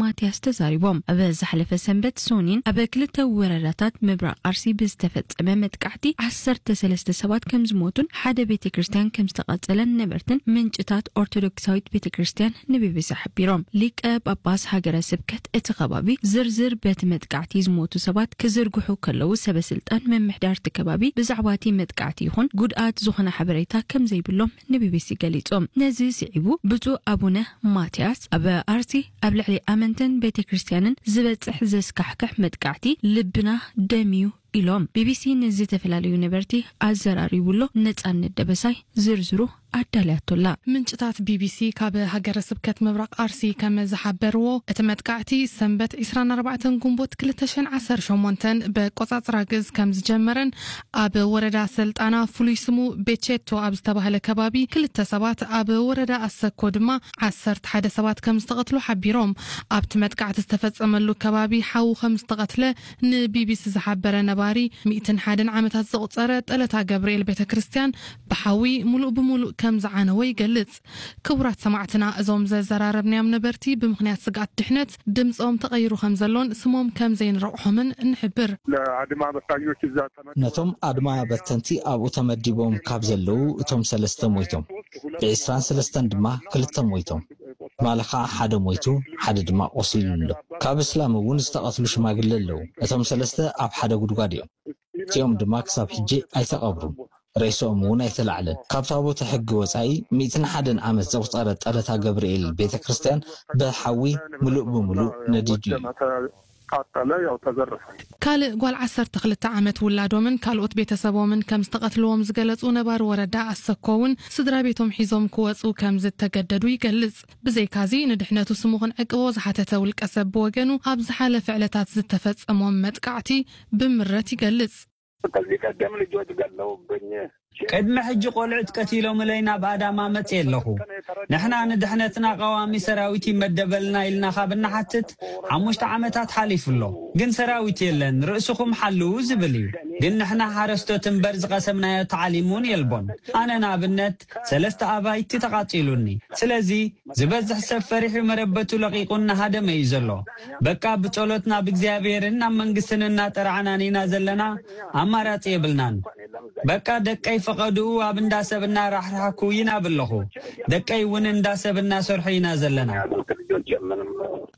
ማትያስ ተዛሪቦም። ኣብ ዝሓለፈ ሰንበት ሶኒን ኣብ ክልተ ወረዳታት ምብራቕ ኣርሲ ብዝተፈጸመ መጥቃዕቲ ዓሰርተ ሰለስተ ሰባት ከም ዝሞቱን ሓደ ቤተ ክርስቲያን ከም ዝተቓጸለን ነበርትን ምንጭታት ኦርቶዶክሳዊት ቤተ ክርስቲያን ንቢቢሲ ሓቢሮም። ሊቀ ጳጳስ ሃገረ ስብከት እቲ ከባቢ ዝርዝር በቲ መጥቃዕቲ ዝሞቱ ሰባት ክዝርግሑ ከለዉ፣ ሰበ ስልጣን ምምሕዳር እቲ ከባቢ ብዛዕባ እቲ መጥቃዕቲ ይኹን ጉድኣት ዝኾነ ሓበሬታ ከም ዘይብሎም ንቢቢሲ ገሊጾም። ነዚ ስዒቡ ብፁዕ ኣቡነ ማትያስ ኣብ ኣርሲ ኣብ ልዕሊ ኣመንትን ቤተ ክርስቲያንን ዝበጽሕ ዘስካሕክሕ መጥቃዕቲ ልብና ደምዩ ኢሎም። ቢቢሲ ንዝተፈላለዩ ነበርቲ ኣዘራሪቡሎ። ነጻነት ደበሳይ ዝርዝሩ ኣዳልያቶላ። ምንጭታት ቢቢሲ ካብ ሃገረ ስብከት ምብራቕ ኣርሲ ከም ዝሓበርዎ፣ እቲ መጥቃዕቲ ሰንበት ዕስራን ኣርባዕተን ግንቦት ክልተ ሽሕን ዓሰርተ ሸሞንተን ብቆጻጽራ ግእዝ ከም ዝጀመረን ኣብ ወረዳ ሰልጣና ፍሉይ ስሙ ቤቼቶ ኣብ ዝተባህለ ከባቢ ክልተ ሰባት፣ ኣብ ወረዳ ኣሰኮ ድማ ዓሰርተ ሓደ ሰባት ከም ዝተቐትሉ ሓቢሮም። ኣብቲ መጥቃዕቲ ዝተፈጸመሉ ከባቢ ሓው ከም ዝተቐትለ ንቢቢሲ ዝሓበረ ነባሪ፣ ሚእትን ሓደን ዓመታት ዘቑጸረ ጠለታ ገብርኤል ቤተ ክርስቲያን ብሓዊ ሙሉእ ብሙሉእ ከም ዝዓነወ ይገልጽ። ክቡራት ሰማዕትና፣ እዞም ዘዘራረብናዮም ነበርቲ ብምኽንያት ስግኣት ድሕነት ድምጾም ተቐይሩ ከም ዘሎን ስሞም ከም ዘይንረቑሖምን ንሕብር። ለአድማ በታኞች እዛ ተመ- ነቶም ኣድማ በተንቲ ኣብኡ ተመዲቦም ካብ ዘለዉ እቶም ሰለስተ ሞይቶም፣ ብዕስራን ሰለስተን ድማ ክልተ ሞይቶም። ትማሊ ኸዓ ሓደ ሞይቱ፣ ሓደ ድማ ቆሲሉ ኣሎ። ካብ እስላም እውን ዝተቐትሉ ሽማግለ ኣለዉ። እቶም ሰለስተ ኣብ ሓደ ጉድጓድ እዮም። እቲኦም ድማ ክሳብ ሕጂ ኣይተቐብሩን። ሬስኦም እውን ኣይተላዕለን። ካብ ታቦተ ሕጊ ወጻኢ ሚእትን ሓደን ዓመት ዘቑጸረ ጠለታ ገብርኤል ቤተ ክርስቲያን ብሓዊ ምሉእ ብምሉእ ነዲዱ እዩ። ቃጠለ፣ ያው ተዘረፈ። ካልእ ጓል ዓሰርተ ክልተ ዓመት ውላዶምን ካልኦት ቤተሰቦምን ከም ዝተቐትልዎም ዝገለጹ ነባሪ ወረዳ ኣሰኮ እውን ስድራ ቤቶም ሒዞም ክወጹ ከም ዝተገደዱ ይገልጽ። ብዘይካዚ ንድሕነቱ ስሙ ክንዕቅቦ ዝሓተተ ውልቀ ሰብ ብወገኑ ኣብ ዝሓለፈ ዕለታት ዝተፈጸሞም መጥቃዕቲ ብምረት ይገልጽ። ከዚህ ቀደም ልጆች ገለውብኝ። ቅድሚ ሕጂ ቆልዑት ቀቲሎምለይ ናብ ኣዳማ መጽየ ኣለኹ። ንሕና ንድሕነትና ቀዋሚ ሰራዊት ይመደበልና ኢልና ካብ እንሓትት ሓሙሽተ ዓመታት ሓሊፉ ኣሎ። ግን ሰራዊት የለን፣ ርእስኹም ሓልዉ ዝብል እዩ። ግን ንሕና ሓረስቶት እምበር ዝቐሰምናዮ ተዓሊም እውን የልቦን። ኣነ ንኣብነት ሰለስተ ኣባይቲ ተቓጺሉኒ። ስለዚ ዝበዝሕ ሰብ ፈሪሑ መረበቱ ለቒቑ እናሃደመ እዩ ዘሎ። በቃ ብጸሎት ናብ እግዚኣብሔርን ናብ መንግስትን እናጠራዕናን ኢና ዘለና፣ ኣማራጺ የብልናን። በቃ ደቀይ ፈቐድኡ ኣብ እንዳ ሰብ እናራሕራሕኩ ይናብ ኣለኹ። ደቀይ እውን እንዳ ሰብ እናሰርሑ ኢና ዘለና።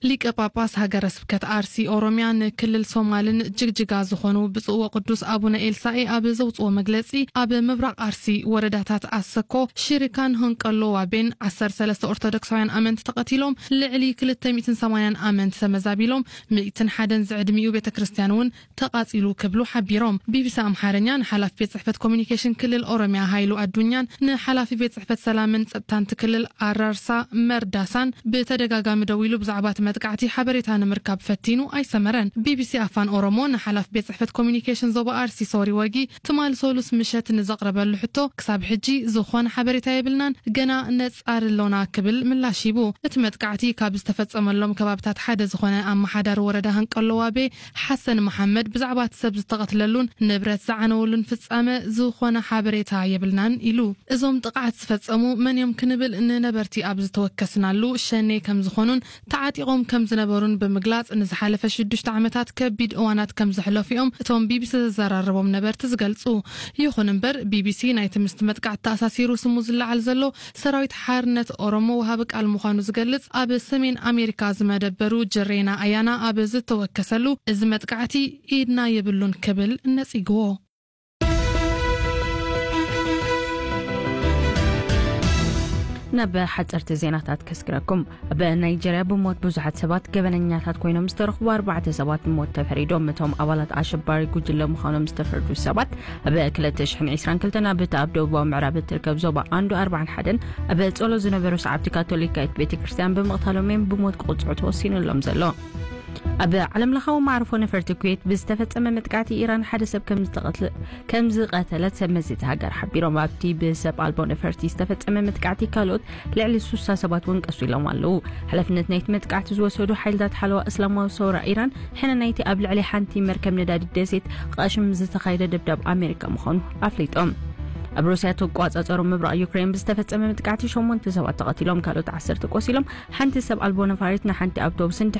ሊቀ ጳጳስ ሃገረ ስብከት ኣርሲ ኦሮሚያ ንክልል ሶማልን ጅግጅጋ ዝኾኑ ብፁዕ ወቅዱስ ኣቡነ ኤልሳኤ ኣብ ዘውፅዎ መግለፂ፣ ኣብ ምብራቕ ኣርሲ ወረዳታት ኣሰኮ፣ ሽሪካን ሆንቀሎ ዋቤን ዓሰርተ ሰለስተ ኦርቶዶክሳውያን ኣመንቲ ተቐቲሎም፣ ልዕሊ ክልተ ሚእትን ሰማንያን ኣመንቲ ተመዛቢሎም፣ ሚእትን ሓደን ዝዕድሚኡ ቤተ ክርስቲያን እውን ተቓጺሉ ክብሉ ሓቢሮም። ቢቢሲ ኣምሓርኛ ንሓላፊ ቤት ጽሕፈት ኮሚኒኬሽን ክልል ኦሮሚያ ሃይሉ ኣዱኛን ንሓላፊ ቤት ጽሕፈት ሰላምን ጸጥታን እቲ ክልል ኣራርሳ መርዳሳን ብተደጋጋሚ ደዊሉ ብዛዕባ እቲ መጥቃዕቲ ሓበሬታ ንምርካብ ፈቲኑ ኣይሰመረን። ቢቢሲ ኣፋን ኦሮሞ ንሓላፊ ቤት ጽሕፈት ኮሚኒኬሽን ዞባ ኣርሲ ሶሪ ወጊ ትማሊ ሰሉስ ምሸት ንዘቕረበሉ ሕቶ ክሳብ ሕጂ ዝኾነ ሓበሬታ የብልናን፣ ገና ነጻሪ ኣሎና ክብል ምላሽ ሂቡ። እቲ መጥቃዕቲ ካብ ዝተፈጸመሎም ከባብታት ሓደ ዝኾነ ኣመሓዳሪ ወረዳ ሃንቀሎ ዋቤ ሓሰን መሓመድ ብዛዕባ እቲ ሰብ ዝተቐትለሉን ንብረት ዝዓነወሉን ፍጻመ ዝኾነ ሓበሬታ የብልናን ኢሉ። እዞም ጥቕዓት ዝፈጸሙ መን እዮም ክንብል ንነበርቲ ኣብ ዝተወከስናሉ ሸኔ ከም ዝኾኑን ተዓጢቖም ከም ዝነበሩን ብምግላጽ፣ ንዝሓለፈ ሽዱሽተ ዓመታት ከቢድ እዋናት ከም ዘሕለፉ እዮም እቶም ቢቢሲ ዘዘራረቦም ነበርቲ ዝገልጹ። ይኹን እምበር፣ ቢቢሲ ናይቲ ምስቲ መጥቃዕቲ ተኣሳሲሩ ስሙ ዝለዓል ዘሎ ሰራዊት ሓርነት ኦሮሞ ወሃቢ ቃል ምዃኑ ዝገልጽ ኣብ ሰሜን ኣሜሪካ ዝመደበሩ ጅሬና ኣያና ኣብ ዝተወከሰሉ፣ እዚ መጥቃዕቲ ኢድና የብሉን ክብል ነጺግዎ። ናብ ሓጸርቲ ዜናታት ከስግረኩም። ኣብ ናይጀርያ ብሞት ብዙሓት ሰባት ገበነኛታት ኮይኖም ዝተረኽቡ ኣርባዕተ ሰባት ብሞት ተፈሪዶም። እቶም ኣባላት ኣሸባሪ ጉጅለ ምዃኖም ዝተፈርዱ ሰባት ኣብ ክልተ ሽሕን ዕስራን ክልተን ኣብ እታ ኣብ ደቡባዊ ምዕራብ እትርከብ ዞባ ኣንዶ ኣርባዓን ሓደን ኣብ ጸሎት ዝነበሩ ሰዓብቲ ካቶሊካዊት ቤተ ክርስቲያን ብምቕታሎም እዮም ብሞት ክቕጽዑ ተወሲኑሎም ዘሎ። ኣብ ዓለምለኻዊ መዓርፎ ነፈርቲ ኩዌት ብዝተፈጸመ መጥቃዕቲ ኢራን ሓደ ሰብ ከም ዝተቐትለ ከም ዝቐተለት ሰብ መዚ እቲ ሃገር ሓቢሮም። ኣብቲ ብሰብ ኣልቦ ነፈርቲ ዝተፈጸመ መጥቃዕቲ ካልኦት ልዕሊ ስሳ ሰባት እውን ቀሲሎም ኣለዉ። ሓላፍነት ናይቲ መጥቃዕቲ ዝወሰዱ ሓይልታት ሓለዋ እስላማዊ ሰውራ ኢራን፣ ሕነ ናይቲ ኣብ ልዕሊ ሓንቲ መርከብ ነዳዲ ደሴት ቃሽም ዝተኻየደ ደብዳብ ኣሜሪካ ምዃኑ ኣፍሊጦም። ኣብ ሩስያ እተቋጻጸሮ ምብራቕ ዩክሬን ብዝተፈጸመ መጥቃዕቲ ሸሞንተ ሰባት ተቐቲሎም፣ ካልኦት ዓሰርተ ቆሲሎም። ሓንቲ ሰብ ኣልቦ ነፋሪት ንሓንቲ ኣውቶቡስን